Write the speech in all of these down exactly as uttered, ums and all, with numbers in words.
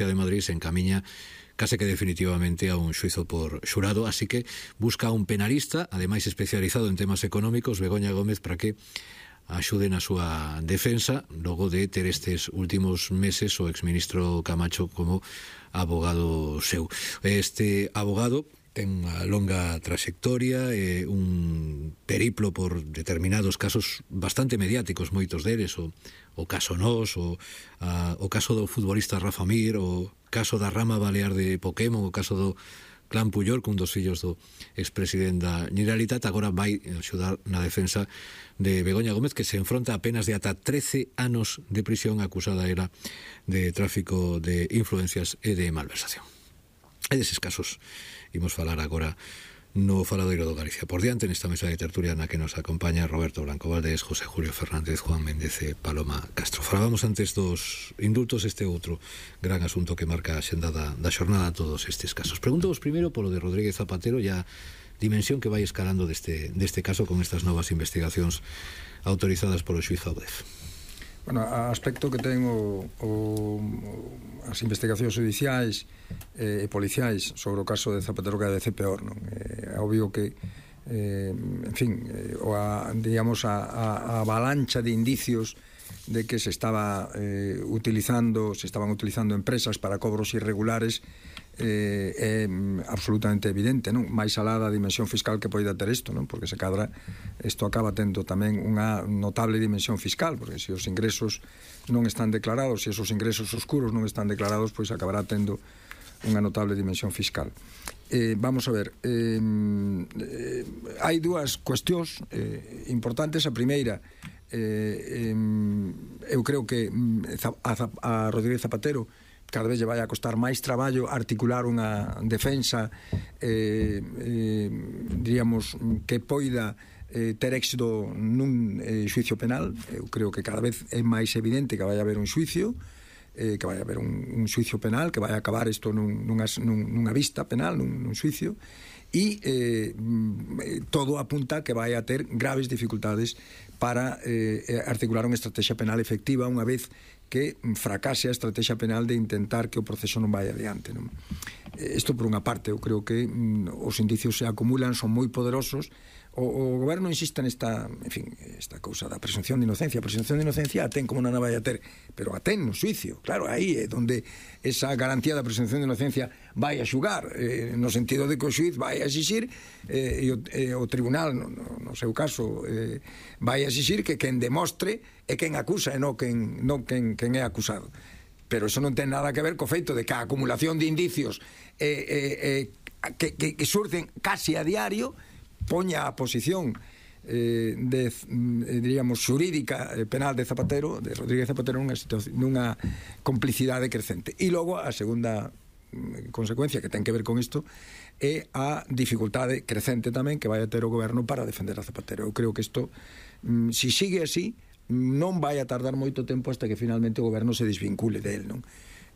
de Madrid se encamiña case que definitivamente a un xuizo por xurado, así que busca un penalista, ademais especializado en temas económicos, Begoña Gómez, para que axude na súa defensa logo de ter estes últimos meses o exministro Camacho como abogado seu. Este abogado ten unha longa trayectoria, eh, un periplo por determinados casos bastante mediáticos, moitos deles, o, o caso Nós, o, a, o caso do futbolista Rafa Mir, o caso da rama balear de Pokémon, o caso do clan Puyol, cun dos fillos do expresidente da Generalitat. Agora vai axudar na defensa de Begoña Gómez, que se enfronta a penas de ata trece anos de prisión, acusada era de tráfico de influencias e de malversación. E deses casos imos falar agora no Faladoiro do Galicia. Por diante, nesta mesa de tertulia na que nos acompaña Roberto Blanco Valdés, José Julio Fernández, Juan Méndez e Paloma Castro. Falábamos antes dos indultos, este outro gran asunto que marca a xenda da, da xornada, todos estes casos. Pregunto-vos primeiro polo de Rodríguez Zapatero e a dimensión que vai escalando deste, deste caso con estas novas investigacións autorizadas polo xuiz Audef. Bueno, a aspecto que ten o, o, as investigacións judiciais e eh, policiais sobre o caso de Zapatero cada vez é peor, non? É obvio que eh, en fin, eh, o a, digamos a, a, a avalancha de indicios de que se estaba eh, utilizando, se estaban utilizando empresas para cobros irregulares eh, é absolutamente evidente, non? Mais alá da dimensión fiscal que poida ter isto, non? Porque se cadra isto acaba tendo tamén unha notable dimensión fiscal, porque se os ingresos non están declarados, se esos ingresos oscuros non están declarados, pois acabará tendo unha notable dimensión fiscal. Eh, vamos a ver, eh, eh, hai dúas cuestións eh, importantes. A primeira, eh, eh, eu creo que a, a Rodríguez Zapatero cada vez lle vai a costar máis traballo articular unha defensa eh, eh, diríamos que poida eh, ter éxito nun eh, xuicio penal. Eu creo que cada vez é máis evidente que vai haber un xuicio, eh, que vai haber un, un xuicio penal, que vai acabar isto nun, nunha, nunha vista penal, nun, nun xuicio, e eh, todo apunta que vai a ter graves dificultades para eh, articular unha estrategia penal efectiva unha vez que fracase a estrategia penal de intentar que o proceso non vai adiante, non? Isto por unha parte, eu creo que mm, os indicios se acumulan, son moi poderosos. O, o goberno insiste nesta, en fin, esta cousa da presunción de inocencia. A presunción de inocencia a ten como non a vai a ter, pero a ten no xuicio, claro, aí é onde esa garantía da presunción de inocencia vai a xugar, eh, no sentido de que o xuiz vai a exixir eh, e, o, e o tribunal, no, no seu caso, eh, vai a exixir que quen demostre é quen acusa e non quen, non quen, quen é acusado. Pero eso non ten nada que ver co feito de que a acumulación de indicios eh, eh, eh, que, que, que surden casi a diario poña a posición eh, de, eh, diríamos, xurídica eh, penal de Zapatero, de Rodríguez Zapatero, nunha, nunha complicidade crecente. E logo a segunda mm, consecuencia que ten que ver con isto é a dificultade crecente tamén que vai a ter o goberno para defender a Zapatero. Eu creo que isto, mm, si sigue así, non vai a tardar moito tempo hasta que finalmente o goberno se desvincule del, non?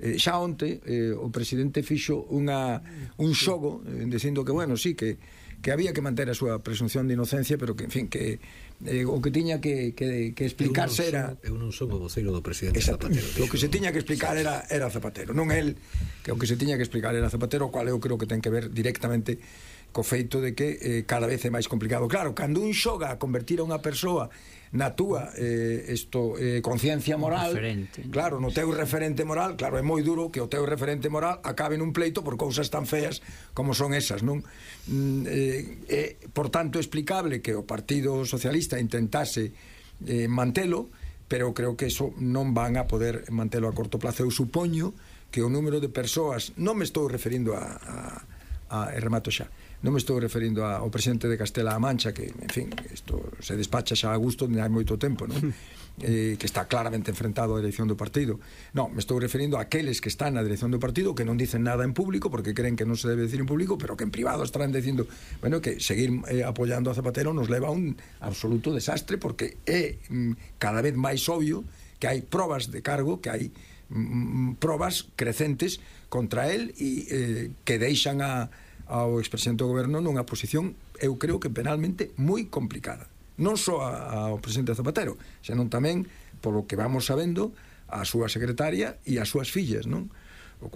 Eh, xa onte eh, o presidente fixo unha, un xogo eh, dicindo que, bueno, sí, que que había que manter a súa presunción de inocencia, pero que, en fin, que eh, o que tiña que, que, que explicarse era... Eu non son o voceiro do presidente Zapatero. O que se tiña que explicar era, era Zapatero, non el, que o que se tiña que explicar era Zapatero, cual eu creo que ten que ver directamente co feito de que eh, cada vez é máis complicado. Claro, cando un xoga a convertir a unha persoa na túa eh, esto, eh, conciencia moral, referente, claro, no teu referente moral, claro, é moi duro que o teu referente moral acabe nun pleito por cousas tan feas como son esas, non? Mm, eh, eh, por tanto, é explicable que o Partido Socialista intentase eh, mantelo, pero creo que eso non van a poder mantelo a corto plazo. Eu supoño que o número de persoas, non me estou referindo a, a, a remato xa, non me estou referindo ao presidente de Castela-A Mancha, que, en fin, isto se despacha xa a gusto de hai moito tempo, non? Eh, que está claramente enfrentado á dirección do partido. Non, me estou referindo a aqueles que están na dirección do partido, que non dicen nada en público porque creen que non se debe decir en público, pero que en privado estarán dicindo, bueno, que seguir eh, apoyando a Zapatero nos leva a un absoluto desastre, porque é mm, cada vez máis obvio que hai probas de cargo, que hai mm, probas crecentes contra él e eh, que deixan a ao expresidente do goberno nunha posición, eu creo que penalmente moi complicada, non só ao presidente Zapatero, senón tamén, polo que vamos sabendo, a súa secretaria e as súas fillas, non?